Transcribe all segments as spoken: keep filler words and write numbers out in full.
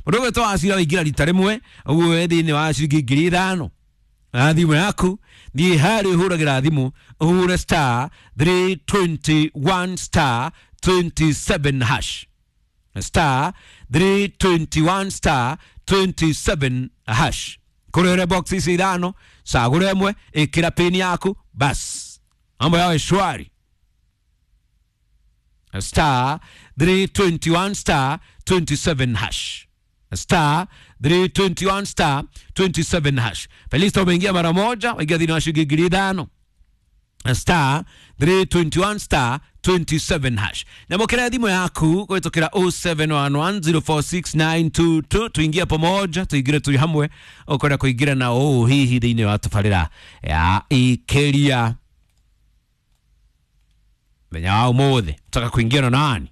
Mũndũ ũgwĩtwo Wacira waingĩra rita rĩmwe ũguo wĩ thĩinĩ wa ciringi ngiri ithano na thimũ yaku thiĩ harĩa ũhũragĩra thimũ ũhũre star three twenty one star twenty seven hash star three twenty one star twenty seven hash kũrĩre box ici ithano cagũra ĩmwe ĩkĩra pin yaku bas mambo yawe shwari star three twenty one star twenty seven hash star three twenty one star twenty seven hash. Felista umeingia mara moja, waingia thĩinĩ wa ciringi ngiri ithano star three twenty one star twenty seven hash. Nyamũkĩra thimũ yaku kũhĩtũkĩra oh seven one one zero four six nine two two tuingie pamoja tuingire tui hamwe ũkwenda kũingĩra na ũũ hihi thĩinĩ wa tabarĩra ya Ikeria menya wa ũmũthĩ utaka kuingia na nani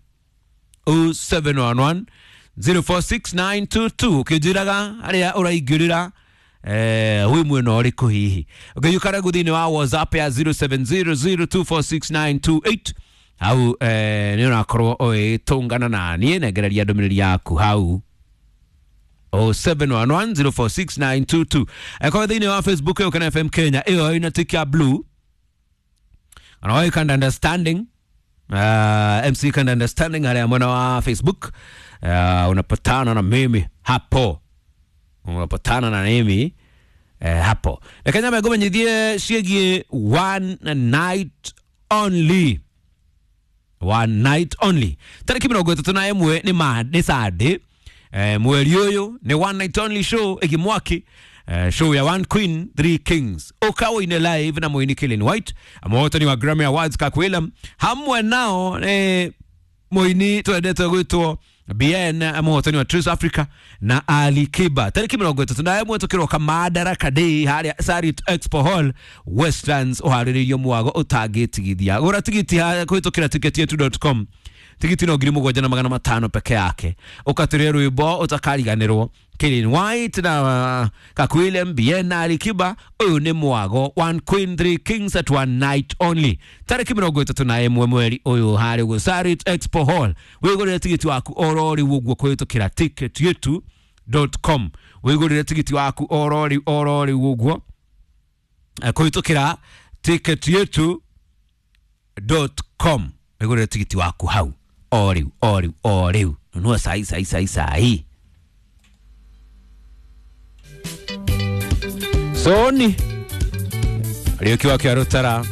oh seven one one zero four six nine two two ũkĩnjĩraga harĩa ũraingĩrĩra eh wĩ mwena ũrĩkũ hihi ũngĩũka rĩu thĩinĩ wa WhatsApp ya zero seven zero zero two four six nine two eight hau eh nĩ ũrakorwo ũgĩtũngana na niĩ nengereria ndũmĩrĩri yaku hau oh seven one one zero four six nine two two akorwo thĩinĩ wa Facebook ĩyo kana F M Kenya ĩyo ĩna tick ya blue kana wĩ kind understanding uh, M C kind understanding harĩa mwena wa Facebook uh, unapatana na mimi hapo unapatana na mimi eh, hapo reke nyambe ngũmenyithie ciĩgiĩ one night only one night only tarĩki mĩrongo ĩtatũ na ĩmwe nĩ ma nĩ Sunday eh, mweri ũyũ nĩ one night only show ĩgi mwaki eh, show ya One Queen Three Kings ũka ũine live na mũini Killing White mũhotani wa Grammy Awards Kakwĩlam hamwe nao eh, mũini twendete gwĩtwo B N mũhotani wa Trace Africa na Ali Kiba tarĩki mĩrongo ĩtatũ na ĩmwe tũkĩroka Madaraka Day harĩa Sarit Expo Hall Westlands ũharĩrĩirio mwago ũtangĩtigithia gũra tigiti kũhĩtũkĩra ticket yetu dot com tigiti no ngiri mũgwanja na magana matano peke yake ũkatũria rwĩmbo ũtakariganĩrwo Killing White na Kakwilem B N na Ali Kiba ũyũ nĩ mwago One Queen Three Kings at one night only tarĩki mĩrongo ĩtatũ na ĩmwe mweri ũyũ harĩa ũguo Sarit Expo Hall wĩgũrĩre tigiti waku oro rĩu ũguo kũhĩtũkĩra ticket yetu dot com wĩgũrĩre tigiti waku oro rĩu oro rĩu ũguo kũhĩtũkĩra ticket yetu dot com wĩgũrĩre tigiti waku hau o rĩu o rĩu o rĩu nunua sahi sahi sahi sahi Soni Aliyokiwa kia Rutara